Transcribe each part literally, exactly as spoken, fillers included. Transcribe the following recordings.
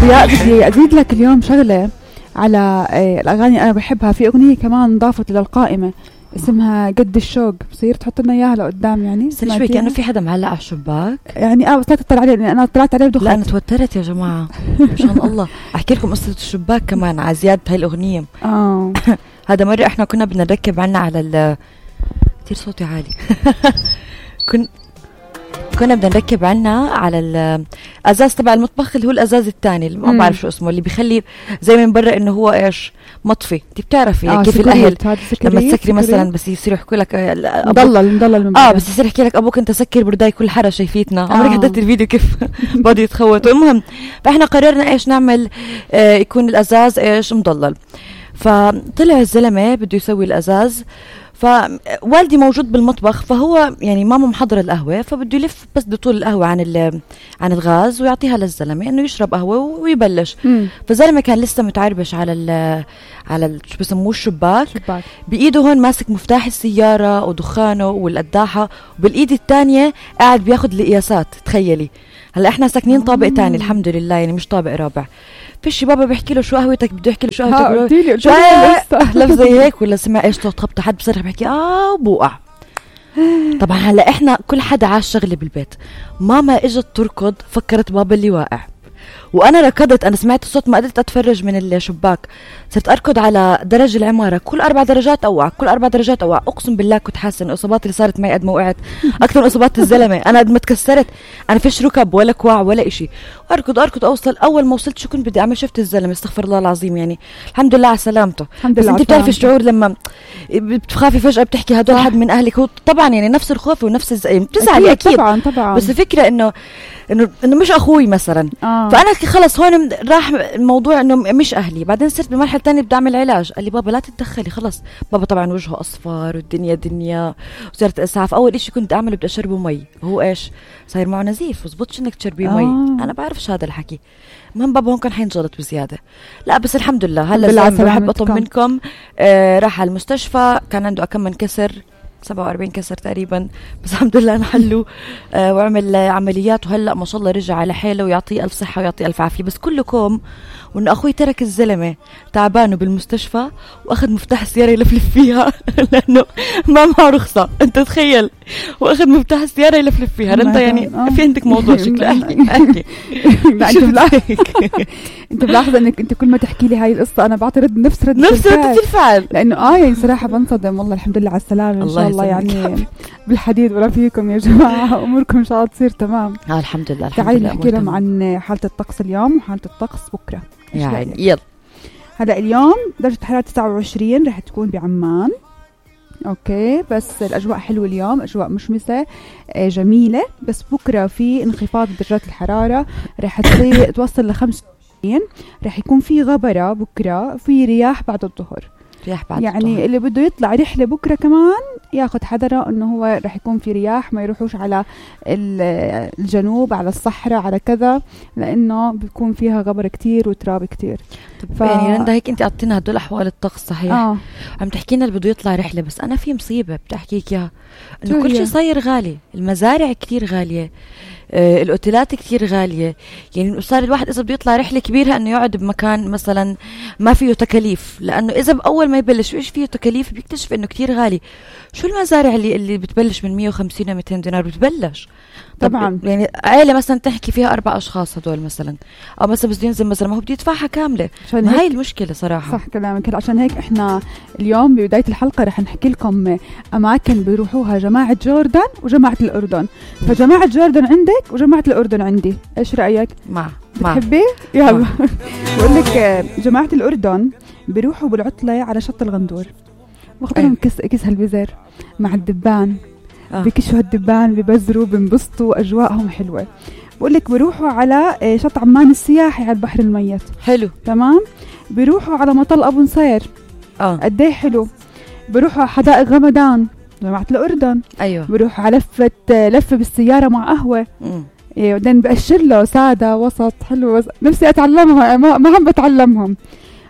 ضياء بدي أزيد لك اليوم شغلة على الأغاني أنا بحبها. في أغنية كمان ضافت للقائمة اسمها قد الشوق، بصير تحط لنا إياها لقدام يعني. شوي كأنه في حدا معلق على الشباك يعني اه بس لا تطلع عليه لأن أنا طلعت عليه بدخل. لا أنا توترت يا جماعة مشان الله. أحكي لكم قصة الشباك كمان على زيادة هاي الأغنية. اه هذا مرة إحنا كنا بدنا نركب عنا على ال كتير صوتي عالي كن كنا بدنا نركب عنا على الازاز تبع المطبخ اللي هو الازاز الثاني اللي ما بعرف شو اسمه، اللي بيخلي زي من برا انه هو ايش مطفي. انت بتعرفي آه كيف الاهل لما تسكري مثلا بس يصيروا يحكوا لك مضلل مضلل من اه بس يصير يحكي لك ابوك انت سكر برداي كل حاره شايفيتنا. آه. عمرك حضرت الفيديو كيف بدي يتخوتوا؟ المهم فاحنا قررنا ايش نعمل، آه يكون الازاز ايش مضلل. فطلع الزلمه بده يسوي الازاز، فوالدي موجود بالمطبخ، فهو يعني ماما محضرة القهوة فبده يلف بس بطول القهوة عن عن الغاز ويعطيها للزلمة انه يشرب قهوة ويبلش. فالزلمة كان لسه متعربش على ال على ال شو بسموه الشباك، شباك. بايده هون ماسك مفتاح السيارة ودخانه والقداحة، وبالايد الثانية قاعد بياخد القياسات. تخيلي هلا احنا ساكنين طابق تاني الحمد لله، يعني مش طابق رابع. فيش بابا بيحكي له شو قهوتك، بده يحكي له شو قهوتك، شو لف زي هيك، ولا سمع ايش صوت خبطه حد بصرخ بحكي اه وبوقع. طبعا هلا احنا كل حدا عاش شغله بالبيت. ماما اجت تركض فكرت بابا اللي واقع، وانا ركضت. انا سمعت الصوت ما قدرت اتفرج من الشباك، صرت اركض على درج العماره، كل اربع درجات اوقع، كل اربع درجات اوقع. اقسم بالله كنت حاسه ان الاصابات اللي صارت معي قد ما وقعت اكثر من اصابات الزلمه. انا قد ما تكسرت، انا فيش ركب ولا كوع ولا إشي. اركض اركض اوصل. اول ما وصلت شو كنت بدي اعمل؟ شفت الزلمه، استغفر الله العظيم، يعني الحمد لله على سلامته. الحمد لله. انت بتعرفي الشعور لما بتخافي فجاه بتحكي هدول حد من اهلك، هو طبعا يعني نفس الخوف ونفس الز... بتزعلي اكيد طبعا طبعا، بس الفكره انه انه انه مش اخوي مثلا. آه. فانا خلص هون راح الموضوع انه مش اهلي. بعدين صرت بمرحله ثانيه بدي اعمل علاج، قال لي بابا لا تتدخلي خلص. بابا طبعا وجهه اصفر والدنيا دنيا وصرت اسعاف. اول إشي كنت اعمله بدي اشربه مي، هو ايش صاير معه نزيف، وزبطش انك تشربيه آه. مي. انا بعرفش هذا الحكي. المهم بابا هون كان حينجلط بزياده. لا بس الحمد لله هلا بحب اطمنكم. آه راح على المستشفى، كان عنده كم من كسر، سبعة وأربعين كسر تقريبا، بس الحمد لله نحلوا. آه وعمل عمليات، وهلا ما شاء الله رجع على حاله ويعطيه الف صحه ويعطيه الف عافيه. بس كلكم وان اخوي ترك الزلمه تعبانه بالمستشفى واخذ مفتاح السياره يلفلف فيها لانه ما معه رخصه. انت تخيل، واخذ مفتاح السياره يلفلف فيها. انت يعني في عندك موضوع شكله. احكي احكي انت ملاحظه انك انت كل ما تحكي لي هاي القصه انا بعطي رد نفس رد نفس رد الفعل، لانه اه يعني صراحه بنصدم. والله الحمد لله على السلامه، ان شاء الله يعني بالحديد ولا فيكم يا جماعه، اموركم ان شاء الله تصير تمام. اه الحمد لله. تعالي نحكي لهم عن حاله الطقس اليوم وحاله الطقس بكره. يعني يلا. هلا اليوم درجه الحراره تسعة وعشرين رح تكون بعمان، اوكي، بس الاجواء حلوه اليوم، اجواء مشمسه جميله. بس بكره في انخفاض درجات الحراره، رح تصير توصل ل خمسة وعشرين. رح يكون في غبره بكره، في رياح بعد الظهر. رياح بعد يعني الظهر. اللي بده يطلع رحله بكره كمان ياخذ حذره انه هو رح يكون في رياح، ما يروحوش على الجنوب على الصحراء على كذا، لانه بيكون فيها غبره كتير وتراب كتير. ف... يعني رندا هيك انت عطينا هدول احوال الطقس صحيح. آه. عم تحكينا اللي بده يطلع رحله، بس انا في مصيبه بدي احكيك اياها، انه كل شيء صاير غالي. المزارع كتير غاليه، آه الاوتيلات كتير غاليه. يعني صار الواحد اذا بده يطلع رحله كبيره انه يقعد بمكان مثلا ما فيه تكاليف، لانه اذا باول ما يبلش ايش فيه تكاليف بيكتشف انه كتير غالي. شو المزارع اللي اللي بتبلش من مية وخمسين ومئتين دينار بتبلش طبعا. يعني عائله مثلا تحكي فيها اربع اشخاص هدول مثلا، او مثلا بده ينزل مثلا ما هو بده يدفعها كامله. ما هاي المشكله صراحه. صح كلامك. عشان هيك احنا اليوم ببدايه الحلقه رح نحكي لكم اماكن بيروحوها جماعه جوردن وجماعه الاردن. فجماعه جوردن عندك وجماعه الاردن عندي، ايش رايك؟ مع بتحبي؟ يلا بقول لك جماعه الاردن بيروحوا بالعطله على شط الغندور، واخذهم كيس كيس هالبزر مع الدبان. آه. بكشوا الدبان، ببزروا، بنبسطوا، اجواءهم حلوه. بقول لك بيروحوا على شط عمان السياحي على البحر الميت. حلو تمام. بيروحوا على مطل ابو نصير. اه قد ايه حلو. بيروحوا على حدائق غمدان جماعه الاردن. ايوه. بيروحوا على لفه لفه بالسياره مع قهوه. امم إيه، بعدين بأشر له ساده وسط حلو، بس نفسي اتعلمها ما, ما عم بتعلمهم.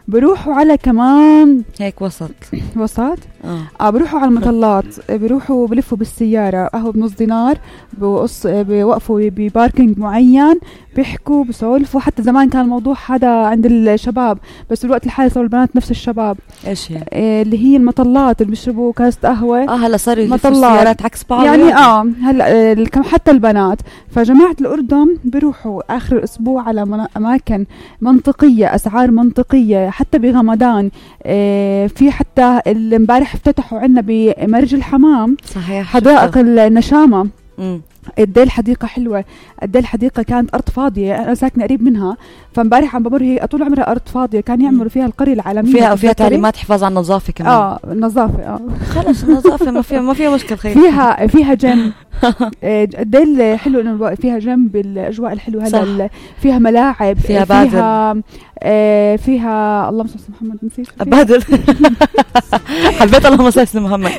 بيروحوا على كمان هيك وسط وسط اه, آه بروحوا على المطلات، بروحوا بلفوا بالسيارة قهوة بنص دينار، بوقص بوقفوا بباركينج معين، بيحكوا بسولفوا. حتى زمان كان الموضوع هذا عند الشباب، بس الوقت الحالي صاروا البنات نفس الشباب. ايش هي؟ آه اللي هي المطلات اللي بيشربوا كاسة قهوة. اه هلا صاروا يلفوا السيارات عكس بعض يعني, يعني اه هلا آه حتى البنات. فجماعة الأردن بيروحوا آخر الأسبوع على من أماكن منطقية، أسعار منطقية. حتى بغمضان آه في حتى امبارح افتتحوا عنا بمرج الحمام صحيح حدائق النشامة. امم قديه الحديقة حلوة، قديه الحديقة كانت أرض فاضية، أنا ساكنة قريب منها. فامبارح عم بمر هي طول عمرها أرض فاضية، كان يعملوا فيها القرية العالمية فيها فيها تعليمات حفاظ على النظافة كمان. اه النظافة اه خلص النظافة ما فيها ما فيها مشكلة. خير فيها فيها جيم قديه حلو انه فيها جيم بالاجواء الحلوة. هلا فيها ملاعب، فيها بادل، فيها آه فيها اللهم صل على محمد، نسيت بادل. حبيت اللهم صل على محمد.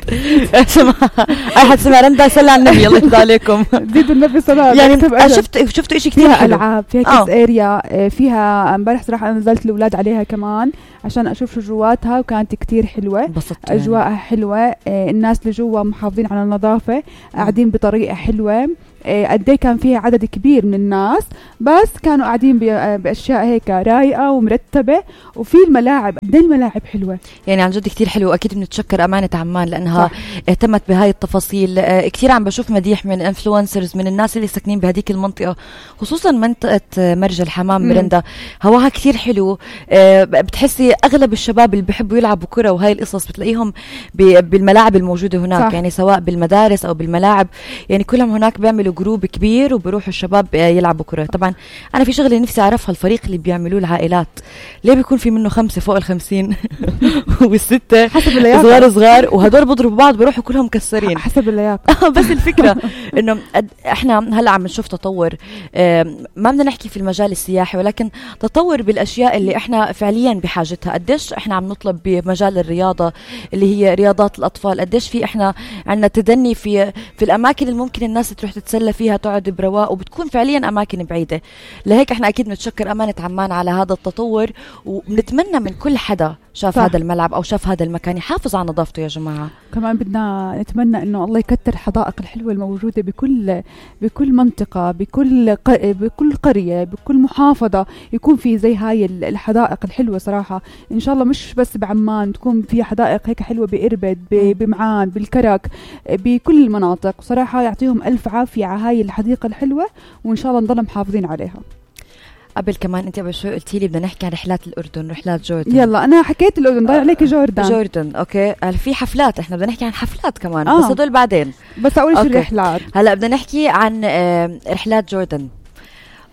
اي حد سمع رندا يصلي على النبي الله يرضى عليكم. زيد النبي صلاة. يعني شفت شفتوا شيء كثير فيها العاب، فيها كيس اريا، فيها امبارح صراحه انا نزلت الاولاد عليها كمان عشان اشوف شو جواتها، وكانت كتير حلوه. اجواءها يعني حلوه، الناس اللي جوا محافظين على النظافه، قاعدين بطريقه حلوه. قد ايه كان فيها عدد كبير من الناس، بس كانوا قاعدين باشياء هيك رايقه ومرتبه، وفي الملاعب قد ايه الملاعب حلوه يعني عن جد كتير حلو. اكيد بنتشكر امانه عمان لانها صح. اهتمت بهاي التفاصيل. كتير عم بشوف مديح من انفلونسرز من الناس اللي ساكنين بهديك المنطقه، خصوصا منطقه مرج الحمام مرندا، هواها كتير حلو. بتحسي اغلب الشباب اللي بيحبوا يلعبوا كره وهاي القصص بتلاقيهم بالملاعب الموجوده هناك صح. يعني سواء بالمدارس او بالملاعب، يعني كلهم هناك بيعملوا جروب كبير وبروحوا الشباب يلعبوا كرة. طبعا أنا في شغلة نفسي أعرفها، الفريق اللي بيعملوه العائلات ليه بيكون في منه خمسة فوق الخمسين والستة حسب اللياقة صغار صغار، وهدول بضربوا بعض بيروحوا كلهم مكسرين حسب اللياقة. بس الفكرة إنه إحنا هلا عم نشوف تطور، ما بدنا نحكي في المجال السياحي ولكن تطور بالأشياء اللي إحنا فعليا بحاجتها. قديش إحنا عم نطلب بمجال الرياضة اللي هي رياضات الأطفال، قديش في إحنا عندنا تدني في في الأماكن اللي ممكن الناس تروح تتسلى فيها تقعد برواق، وبتكون فعليا أماكن بعيدة. لهيك احنا أكيد نتشكر أمانة عمان على هذا التطور، وبنتمنى من كل حدا شاف صح. هذا الملعب أو شاف هذا المكان يحافظ على نظافته يا جماعة. كمان بدنا نتمنى إنه الله يكتر الحدائق الحلوة الموجودة بكل بكل منطقة، بكل بكل قرية، بكل محافظة، يكون في زي هاي الحدائق الحلوة صراحة. إن شاء الله مش بس بعمان، تكون في حدائق هيك حلوة بإربد، بمعان، بالكرك، بكل المناطق. صراحة يعطيهم ألف عافية على هاي الحديقة الحلوة، وإن شاء الله نضل محافظين عليها. قبل كمان انت قبل شوي قلتي لي بدنا نحكي عن رحلات الاردن، رحلات جوردن. يلا انا حكيت الاردن، ضايع عليك جوردن. جوردن اوكي، هل في حفلات؟ احنا بدنا نحكي عن حفلات كمان آه. بس هدول بعدين. بس اول شيء الرحلات. هلا بدنا نحكي عن رحلات جوردن.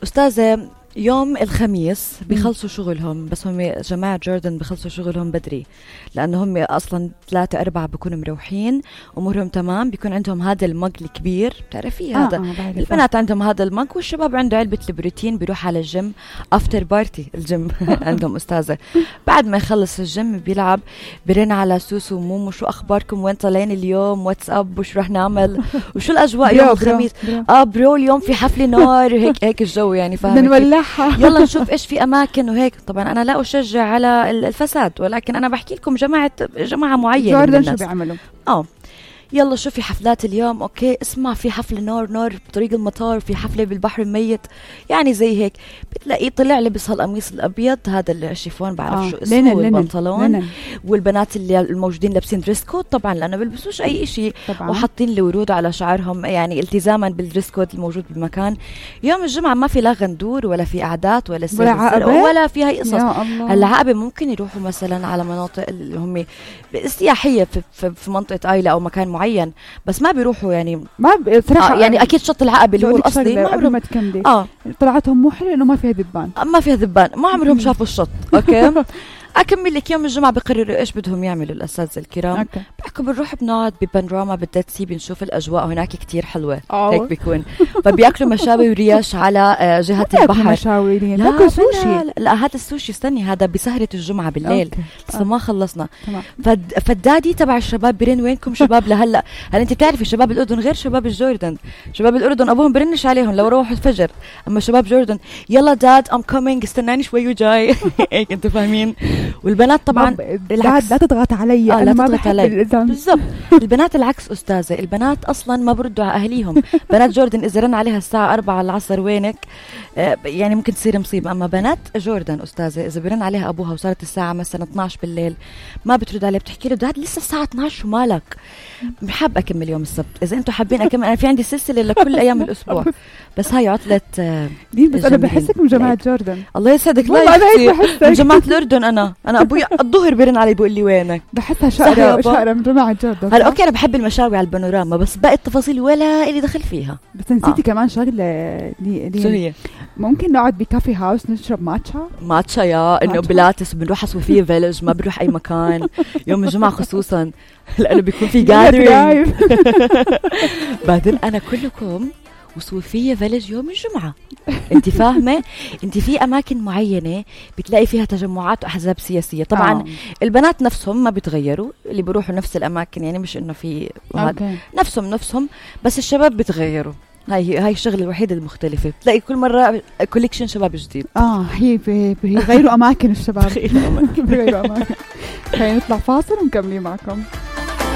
استاذه يوم الخميس بيخلصوا شغلهم، بس هم جماعة جوردن بيخلصوا شغلهم بدري لأنه هم أصلا ثلاثة أربعة بيكونوا مروحين أمورهم تمام. بيكون عندهم هذا المج الكبير بتعرفي آه هذا آه البنات عندهم هذا المج، والشباب عنده علبة البروتين، بيروح على الجيم أفتر بارتي الجيم عندهم أستاذة. بعد ما يخلص الجيم بيلعب، بيرن على سوسو ومومو شو أخباركم، وين طالعين اليوم، واتساب، وش رح نعمل، وشو الأجواء يوم الخميس. آه برو اليوم في حفلة نار، هيك هيك الجو يعني فاهمة. يلا نشوف ايش في اماكن وهيك. طبعا انا لا اشجع على الفساد، ولكن انا بحكي لكم جماعه جماعه معينه من الناس شو بيعملوا. اه يلا شوفي حفلات اليوم، اوكي اسمع في حفله نار نار بطريق المطار، في حفله بالبحر الميت، يعني زي هيك. بتلاقيه طلع لبس هالقميص الابيض هذا الشيفون بعرف آه. شو اسمه، والبنطلون، والبنات اللي الموجودين لابسين دريس كود طبعا لانه بيلبسوش اي شيء، وحاطين الورود على شعرهم يعني التزاما بالدريس كود الموجود بالمكان. يوم الجمعه ما في لا غندور ولا في قعدات ولا ولا, ولا في هاي قصص. العقبه ممكن يروحوا مثلا على مناطق اللي هم سياحيه في, في, في منطقه ايلا او مكان معين، بس ما بيروحوا يعني ما بصراحه آه يعني اكيد شط العقبه اللي هو الاصلي ما عمرهم ما تكملي. اه طلعتهم مو حلو انه ما فيها ذبان، ما فيها ذبان، ما عمرهم شافوا الشط. اوكي اكمل لك. يوم الجمعه بقرروا ايش بدهم يعملوا الاساتذه الكرام. بحكوا بنروح بنقعد ببانوراما بالديد سي، بنشوف الاجواء هناك كتير حلوه. أوه. هيك بيكون فبياكلوا مشاوي وريش على جهه البحر. مشاوي لا سوشي. لا, لا هذا السوشي استني، هذا بسهره الجمعه بالليل لسه ما خلصنا. فد فالدادي تبع الشباب برن وينكم شباب لهلا. هل انت بتعرفي شباب الاردن غير شباب الجوردن؟ شباب الاردن ابوهم برنش عليهم لو روحوا الفجر، اما شباب جوردن يلا داد ام كومينج استناني شوي وجاي. هيك انتوا فاهمين. والبنات طبعا لا, لا تضغط علي. آه لا تضغط علي بالضبط. البنات العكس أستاذة، البنات أصلا ما بردوا على أهليهم. بنات جوردن إذا رن عليها الساعة أربعة العصر وينك آه يعني ممكن تصير مصيبة. أما بنات جوردن أستاذة إذا برن عليها أبوها وصارت الساعة مثلا اثناشر بالليل ما بترد عليه، بتحكي له داد لسه الساعة اثناشر ومالك، بحب أكمل يوم السبت. إذا أنتوا حابين أكمل، أنا في عندي سلسلة لكل أيام الأسبوع، بس هاي عطلة آه دي. بس أنا بحسك من جماعة جوردن. الله يسعدك. لا من جماعة الأردن. أنا أنا أبوي الظهر بيرن علي بيقول لي وينك. بحسها شقرة شقرة من جماعة جوردن. هلا أوكي أنا بحب المشاوي على البانوراما، بس باقي التفاصيل ولا إلي دخل فيها. بس نسيتي آه. كمان شغلة دي, دي شو هي؟ ممكن نقعد بكافي هاوس نشرب ماتشا. ماتشا يا إنه بلاتس بنروح على صوفيا فيلج، ما بنروح أي مكان يوم الجمعة خصوصا لأنه بيكون في جاذرينج. بعدين أنا كلكم وصوفيا فيلج يوم الجمعة. انت فاهمة؟ انت في اماكن معينة بتلاقي فيها تجمعات واحزاب سياسية. طبعا أوه. البنات نفسهم ما بيتغيروا، اللي بيروحوا نفس الاماكن، يعني مش انه في نفسهم نفسهم بس الشباب بيتغيروا. هاي هاي الشغله الوحيده المختلفه، بتلاقي كل مره كوليكشن شباب جديد. اه هي بيغيروا اماكن الشباب. بيغيروا اماكن. خلينا نطلع فاصل ونكمل معكم.